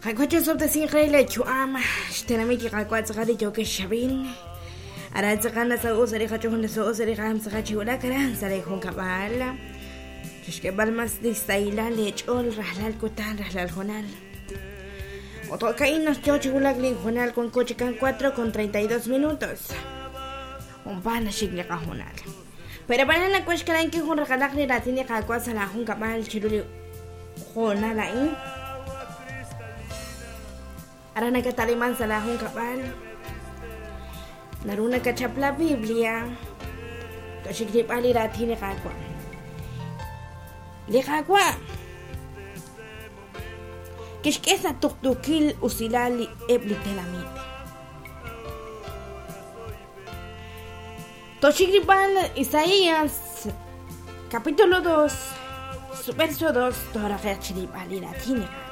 Qaawa' chi'osob'tesinq re lee yu'am, xtenamit li Qaawa' tz'aqal li yookex xab'in. Aran tz'aqal nasaho' sa' li qach'ool, nasaho' sa' li qaam tz'aqal chi wulak aran sa' lee junkab'al. Chixk'eeb'al mas li sahilal lee ch'ool rajlal kutan, rajlal hoonal. Ut jo'ka'in naq yoo chi wulak lin hoonal wanko chikan 4 con 32 minutos. Junpaat naxik li qahoonal. Pero ab'anan nawaj xkalankil jun raqalaq li raatin li Qaawa' sa' laa junkab'al chiru li hoonal a'in. Aran nakata'liman sa' laa junkab'al. Naru nakachap la Biblia toxik rilb'al li raatin li Qaawa'. Li Qaawa' kixk'e sa' tuqtuukil usilal li eb' li tenamit. Toxik rilb'al Isaías capítulo 2 su verso 2 tooraqe'q chirilb'al li raatin li Qaawa'.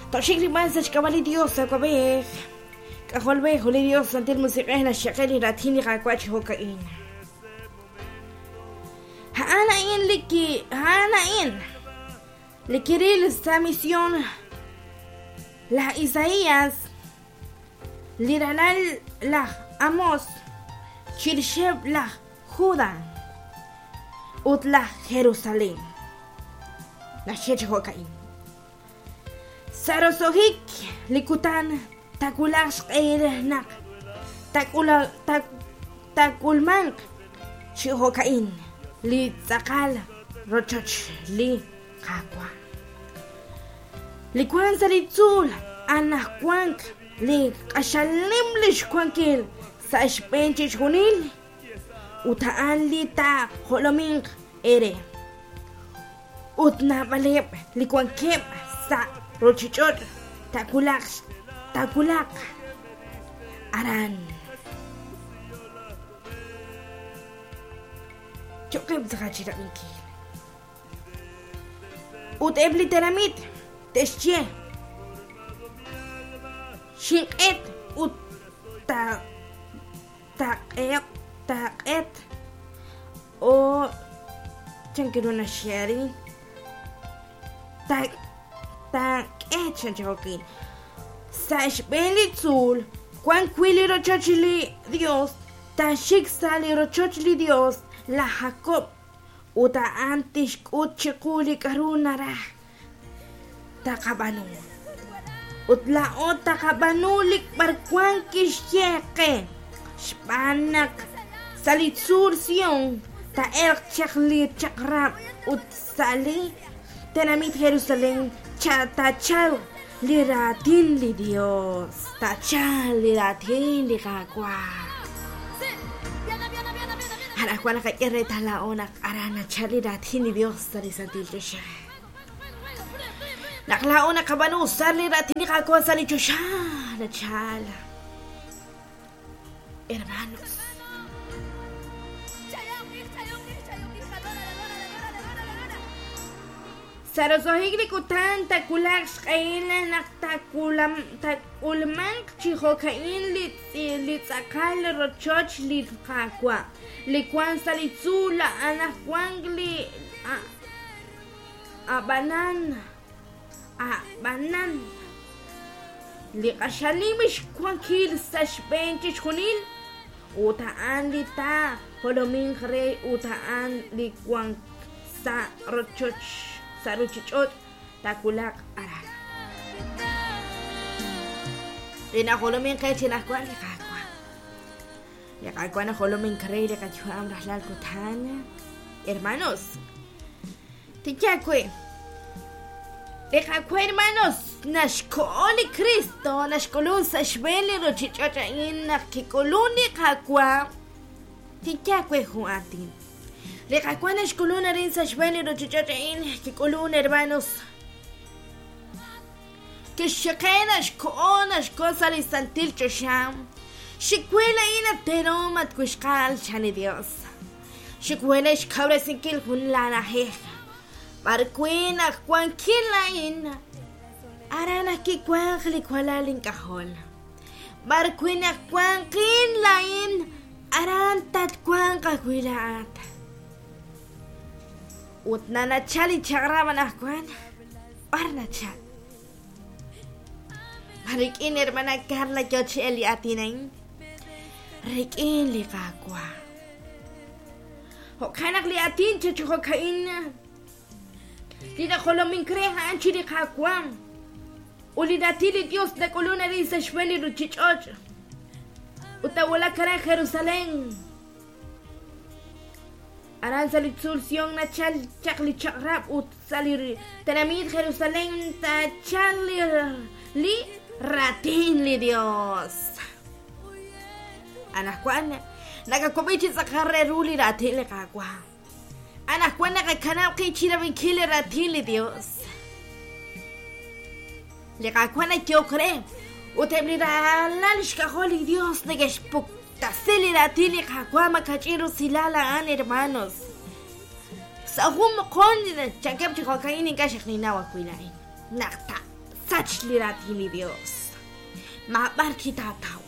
Toxik rilb'al sa' xk'ab'a' li Dios Awab'ej, K'ajolb'ej ut li Dios Santil Musiq'ej naxxaqe li raatin li Qaawa' chi jo'ka'in. A'an a'in li ki a'an a'in li kiril sa' mision laj Isaías Li ralal laj Amós chirixeb' laj Judá ut laj Jerusalén. Naxye chi jo'ka'in, Sa' roso'jik li kutan taawulaq xq'ehil naq taak'ulmanq chi jo'ka'in li tz'aqal rochoch li Qaawa'. Li wank sa' li tzuul anajwank li q'axal nim li xwankil sa' xb'een chixjunil, ut a'an li taajolominq eere. Ut naab'aleb' li wankeb' sa' ruuchich'och' taawulaq taawulaq aran. Yo'qeb' tz'aqal chi rab'inkil. Ut eb' li tenamit te'xye, Xinq'et ut taaq'eq taaq'et o chan ru naxye arin taak'e chan chi jo'kin sa' xb'een li tzuul wan wi' li rochoch li Dios taaxik sa' li rochoch li Dios laj Jacob Ut a'an tixk'ut chiqu li k'a'ru naraj taqab'aanu. Ut laa'o taqab'aanu li b'arwan kixye qe, xb'aan naq sa' li tzuul Sion taa'elq chaq li chaq'rab' ut sa' li tenamit Jerusalen taachalq li raatin li Dios, taachalq li raatin li Qaawa'. Anaqwan naqak'e reetal laa'o naq aran nachal li raatin li Dios sa' li santil choxa. Naq laa'o naqab'aanu usar li raatin li Qaawa' sa' li choxa nachal. Hermanos. Sa' roso'jik li kutan taawulaq xq'ehil naq taak'ulmanq chi jo'ka'in li tz'aqal rochoch li Qaawa', li wank sa' li tzuul anaqwan li A'b'anan, a'b'anan, li q'axal nim xwankil sa' xb'een chixjunil, ut a'an li taajolominq re ut a'an li wank sa' rochoch sa' ruchich'och' taawulaq aran. Li najolomink qe chi anajwan li Qaawa'. Li Qaawa' najolomink re li qayu'am rajlal kutan. Hermanos, tinye aawe, li Qaawa' hermanos naxko'o li Kristo, naxk'ulun sa' xb'een li ruchich'och' a'in naq kik'ulun li Qaawa', tinye aawe jun aatin. Li Qaawa' naxk'ulun arin sa' xb'een li ruchich'och' a'in, kik'ulun hermanos. Kixxaqe naxko'o naxko sa' li santil choxa. Xik we laa'in at teelom at wixqa'al chan li Dios. Xik we re xkawresinkil jun laana'ajej b'ar wi' naq wankin laa'in, aran ajwi' wanq li walal ink'ajol. B'ar wi' naq wanqin laa'in, aran tatwanq ajwi' laa'at. Ut nanachal li chaq'rab' anaqwan. B'ar nachal? Ma rik'in hermana Carla yo chi el li aatin a'in? Rik'in li Qaawa'. Jo'kan naq li aatin chi jo'ka'in li najolomink re a'an chi li Qaawa' ut li raatin li Dios nak'ulun arin sa' xb'een li ruchich'och' ut nawulak aran Jerusalén. Aran sa' li tzuul Sion nachal chaq li chaq'rab' ut sa' li tenamit Jerusalén taachal li raatin li Dios. Anaqwan nakawab'i chi tz'aqal re ru li raatin li Qaawa'. Anaqwan naqakanab' qib' chi rab'inkil li raatin li Dios. Li Qaawa' nayehok re, ut eb' li ralal xk'ajol li Dios neke'xpuktasi li raatin li Qaawa' makach'in rusilal a'an, hermanos. Sa' jun moqon chankeb' chi jo'ka'in ink'a' xe'qninnaw ajwi' laa'in naq taasach li raatin li Dios. Maab'ar chi taataw.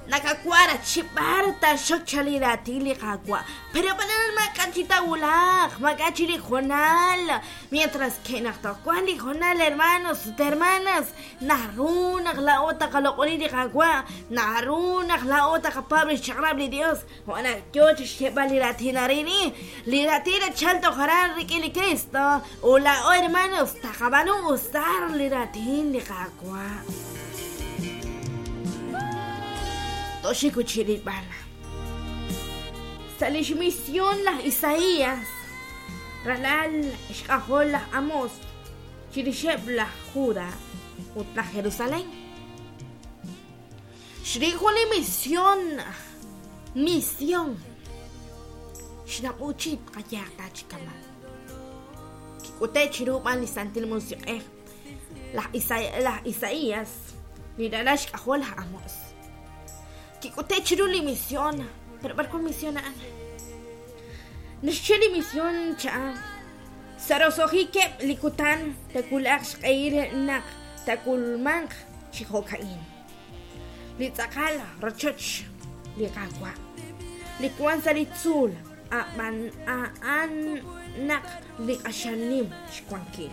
Nakawara chi b'ar taaxok chal li raatin li Qaawa'. Pero b'anan maak'a' chi taawulaq, maak'a' chi li hoonal. Mientras que naq toj wan li hoonal, hermanos ut hermanas, naru naq laa'o taqaloq'oni li Qaawa', naru naq laa'o taqapaab' lix chaq'rab' li Dios, jo' naq yoo chixyeeb'al li raatin arin, li raatin nachal toj aran rik'in li Kristo, ut laa'o, hermanos, taqab'aanu usar li raatin li Qaawa'. Toxik ut chirilb'al. Sa' lix misión laj Isaías, ralal xk'ajol laj Amos, chirixeb' laj Juda ut laj Jerusalén. Xril jun li misión, misión. Xnab'uchit qayaq ta chi kama'. Kik'ute' chiru b'an li Santil Musiq'ej laj Isaías, li ralal xk'ajol laj Amos. Kik'ute' chiru li misión, pero b'ar wan misión a'an? Naxye li misión cha'an. Sa' roso'jikeb' li kutan taawulaq xq'ehil naq taak'ulmanq chi jo'ka'in. Li tz'aqal rochoch li Qaawa', li wank sa' li tzuul, a'b'an a'an naq li q'axal nim xwankil.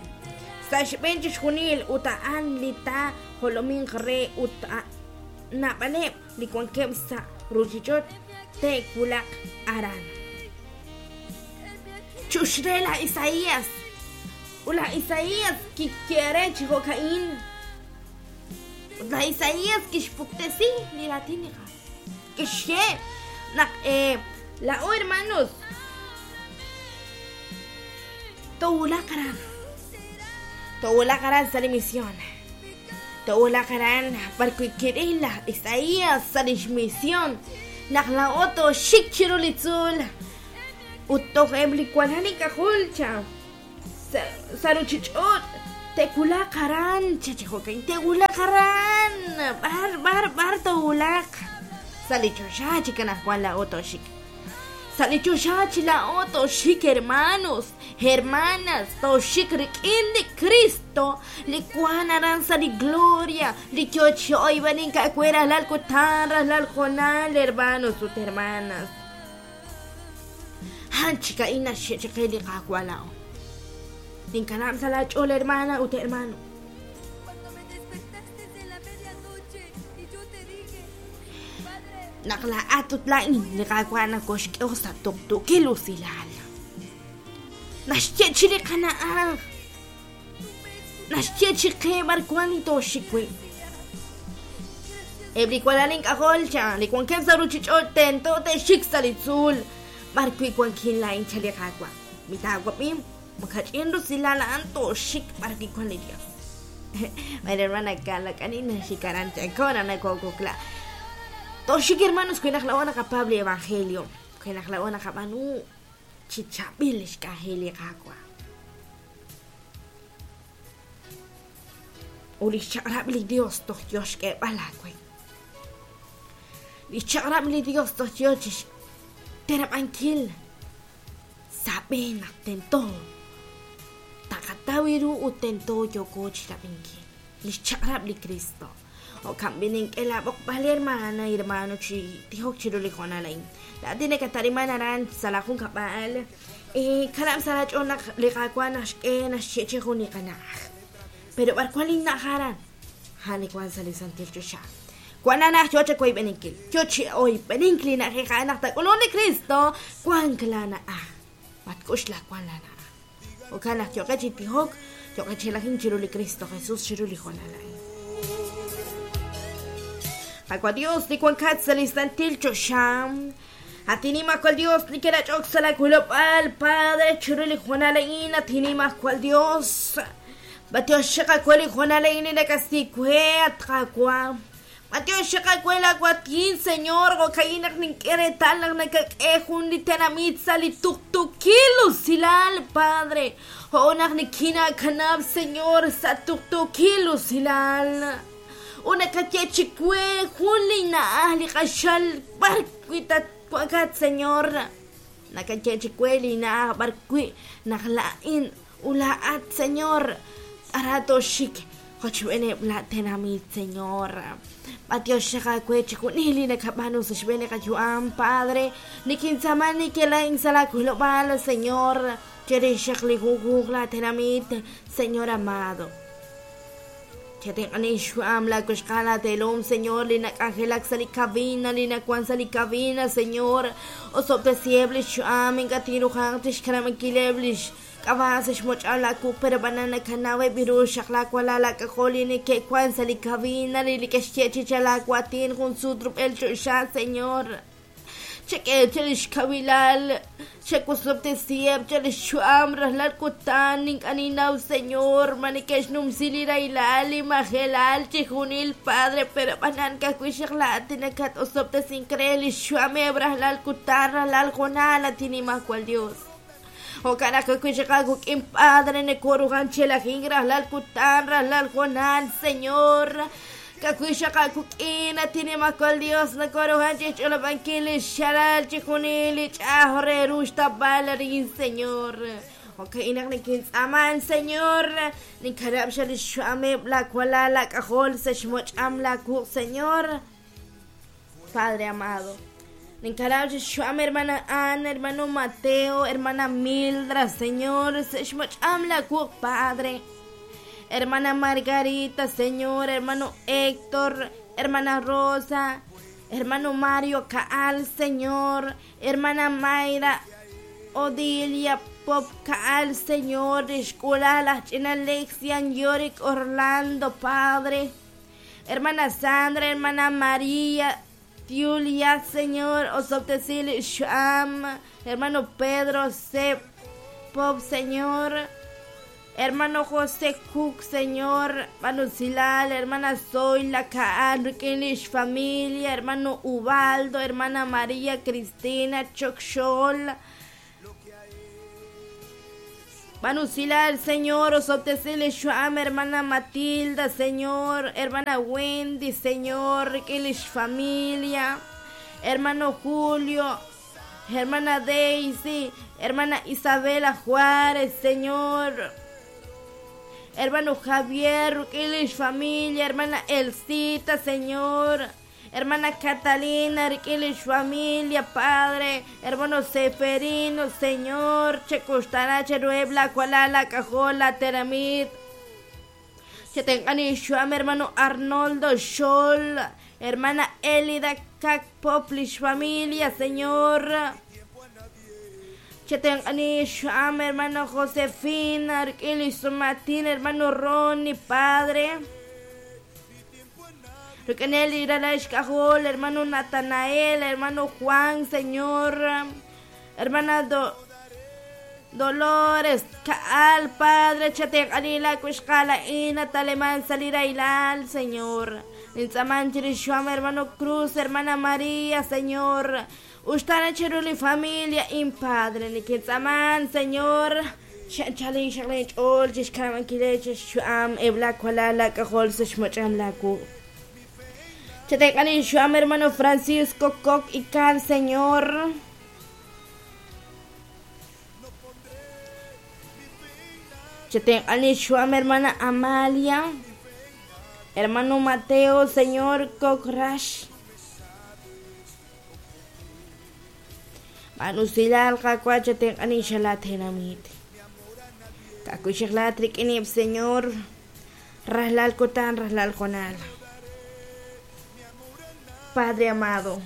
Sa' xb'een chixjunil ut a'an li taajolominq re ut naab'aleb' li wankeb' sa' ruuchich'och' te'wulaq aran. Chux re laj Isaías. Ut laj Isaías kixye re chi jo'ka'in. Ut laj Isaías kixpuktesi li raatin li Qaawa'. Kixye naq laa'o hermanos toowulaq aran. Toowulaq aran sa' li misión. Toowulaq aran b'arwi' kiril laj Isaías sa' lix misión naq laa'o tooxik chiru li tzuul ut toj eb' li walal ink'ajol cha sa' ruchich'och' te'wulaq aran cha chi jo'kan te'wulaq aran b'ar b'ar b'ar toowulaq sa' li choxa chik anaqwan laa'o tooxik sa' li choxa chi laa'o tooxik hermanos hermanas tooxik rik'in li Cristo li wan aran sa' li gloria li yoo chi oyb'enink aawe rajlal kutan rajlal hoonal hermanos ut hermanas. A'an chik a'in naxye chiqe li Qaawa' laa'o. Ninkanab' sa' laach'ool hermana ut hermano. Naq laa'at ut laa'in li Qaawa' nokoxk'e sa' tuqtuukil usilal. Naxye chi li qana'aj. Naxye chi qe b'ar wan li tooxik wi'. Eb' li walal ink'ajol cha li wankeb' sa' ruuchich'och' tento te'xik sa' li tzuul b'ar wi' wankin laa'in cha li Qaawa'. Mi taawab'i, makach'in rusilal a'an tooxik b'ar wi' wan li Dios. Bueno, hermana Carla, k'ani naxik aran chakona nakokokla. Tooxik hermanos wi naq laa'o naqapaab' li evangelio, wi naq laa'o naqab'aanu chi chaab'il lix k'anjel li Qaawa'. Ut lix chaq'rab' li Dios toj yoo xk'eeb'al aawe. Lix chaq'rab' li Dios toj yoo chixteneb'ankil sa' b'een naq tento taqataw ru ut tento yooko chirab'inkil lix chaq'rab' li Kristo. Jo'kan b'i' nink'e laab'oqb'al, hermana, hermano, chi tijok chiru li hoonal a'in. Laa'at li nakatariman aran sa' laa junkab'al, kanab' sa' laach'ool naq li Qaawa' naxk'e naxye'chi jun li qana'aj. Pero b'ar wank linna'aj aran? A'an li wank sa' li santil choxa. Wank laana'aj yo chawoyb'eninkil, yo chi oyb'enink li na'ajej a'an naq taak'ulunq li Kristo, wank laana'aj. Matk'oxlak wank laana'aj. Jo'kan naq yooqeb' chi tijok, yooqeb' chi elajink chiru li Kristo Jesus chiru li hoonal a'in. Qaawa' Dios li wankat sa' li santil choxa, at Nimajwal Dios li kinach'ok sa' laawilob'aal, Padre, chiru li hoonal a'in, at Nimajwal Dios, b'antiox chaq aawe li hoonal a'in li nakasi we, at Qaawa'. B'antiox chaq aawe laawaatin, Señor, jo'ka'in naq nink'e reetal naq nakak'e jun li tenamit sa' li tuqtuukil usilal, Padre, jo' naq nikinaakanab', Señor, sa' tuqtuukil usilal. Ut nakaye chiwe jun li na'aj li q'axal b'ar wi' tatwankat, Señor. Nakaye chiwe li na'aj b'ar wi' naq laa'in ut laa'at, Señor, ara tooxik qochb'eeneb' laa tenamit, Señor. B'antiox xaq aawe chixjunil li nakab'aanu sa' xb'een li qayu'am, Padre. Nikintz'aama nikela'in sa' laa wilob'aal, Señor, chirix xaq li junjunq laa tenamit, Señor amado. Chatenq'ani xyu'am laa wixqa'al laa teelom, Señor, li nak'anjelak sa' li cabina, li nawan sa' li cabina, Señor. Osob'tesiheb' lix yu'am, ink'a' tinruhanq chixkanab'ankileb' lix k'ab'a' sa' xmoch'al laa wuq', pero b'anan nakanaweb' ru xaq laa walal laak'ajol li neke'wan sa' li cabina, li neke'xye chi chal aawaatin jun sut rub'el choxa, Señor. Chak'e che lix kawilal, chawosob'tesiheb' che lix yu'am rajlal kutan, ink'a' ninnaw, Señor, ma neke'xnumsi li rahilal, li majelal, chixjunil, Padre, pero b'anan ka'ajwi' xaq laa'at li nakat-osob'tesink re lix yu'ameb' rajlal kutan, rajlal hoonal, at Nimajwal Dios. Jo'kan naq ka'ajwi' xaq aawik'in, Padre, nekoruhan chi elajink rajlal kutan, rajlal hoonal, Señor. Ka'ajwi' xaq aawik'in, at Nimajwal Dios, nokoruhan chi xch'olob'ankil li xxalal chixjunil li ch'a'aj re ru xtawb'al arin, Señor. Jo'ka'in naq nikintz'aaman, Señor, ninkanab' xa li xyu'ameb' laawalal laak'ajol sa' xmoch'am laawuq', Señor. Padre amado. Ninkanab' chi xyu'am hermana Ana, hermano Mateo, hermana Mildra, Señor, sa' xmoch'am laawuq', Padre. Hermana Margarita, Señor, hermano Héctor, hermana Rosa, hermano Mario Kaal, Señor, hermana Mayra, Odilia Pop Kaal, Señor, lix k'uula'al aj ch'ina Lexian Yorick Orlando, Padre. Hermana Sandra, hermana María, Julia, Señor, osob'tesi li xyu'am, hermano Pedro C. Pop, Señor, hermano José Cook, Señor, hermano Silal, hermana Zoila Kaal, rik'in lix familia, hermano Ubaldo, hermana María Cristina Chokxol, Manusilal, Señor, osob'tesi li xyu'am, hermana Matilda, Señor, hermana Wendy, Señor, rik'in lix familia, hermano Julio, hermana Daisy, hermana Isabela Juárez, Señor, hermano Javier, rik'in lix familia, hermana Elcita, Señor, hermana Catalina, rik'in lix familia, Padre, hermano Seferino, Señor, chekuxtana cheruheb' laawalal laak'ajol laatenamit. Chetenq'ani xyu'am hermano Arnoldo Xol, hermana Elida Kak Pop lix familia, Señor. Chetenq'ani xyu'am hermano Josefina, rik'in lix sumatin, hermano Ronnie, Padre. Rik'inel li ralal xk'ajol, hermano Natanael, hermano Juan, Señor, hermana Dolores, Kaal, Padre, chatenq'ani laawixqa'al a'in, ataleman sa' li rahilal, Señor. Nintz'aaman chirix xyu'am hermano Cruz, hermana María, Señor. Uxtaana chiru li familia in Padre, nikintz'aaman, Señor. Xa'anchal xaq linch'ool chixkanab'ankileb' chixyu'am eb' laawalal laak'ajol sa' xmoch'am laawuq'. Chatenq'ani xyu'am hermano Francisco Coc Ical, Señor. Chatenq'ani xyu'am hermana Amalia, hermano Mateo, Señor Coc Rash. B'anusilal Qaawa' chatenq'ani xa laatenamit. Ka'ajwi' xaq laat rik'ineb', Señor. Rajlal kutan, rajlal hoonal. Padre amado,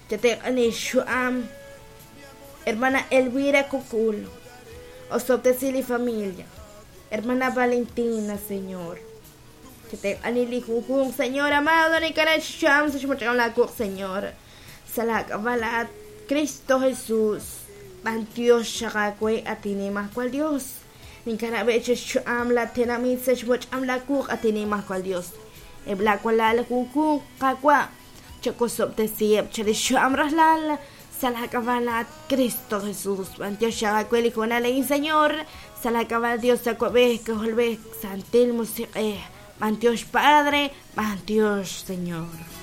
chateq'ani xyu'am hermana Elvira Cucul, osob'tesi li familia. Hermana Valentina, Señor. Chateq'ani li junjunq, Señor amado, ninkana xyu'am sa' xmoch'am laa wuq', Señor. Sa' laak'ab'a' laa'at Cristo Jesús. B'antiox xaq aawe at Inimajwal Dios. Ninkanab'eb' chi xyu'am la tenamit sa' xmoch'am laa wuq' at Inimajwal Dios. Eb' laawalal junjunq Qaawa' chawosob'tesiheb' chirix xyu'am rajlal sa' laak'ab'a' laa'at Cristo Jesús. B'antiox xaq aawe li hoonal a'in, Señor. Sa' laak'ab'a' Dios Awab'ej, K'ajolb'ej, Santil Musiq'ej. B'antiox Padre, b'antiox Señor.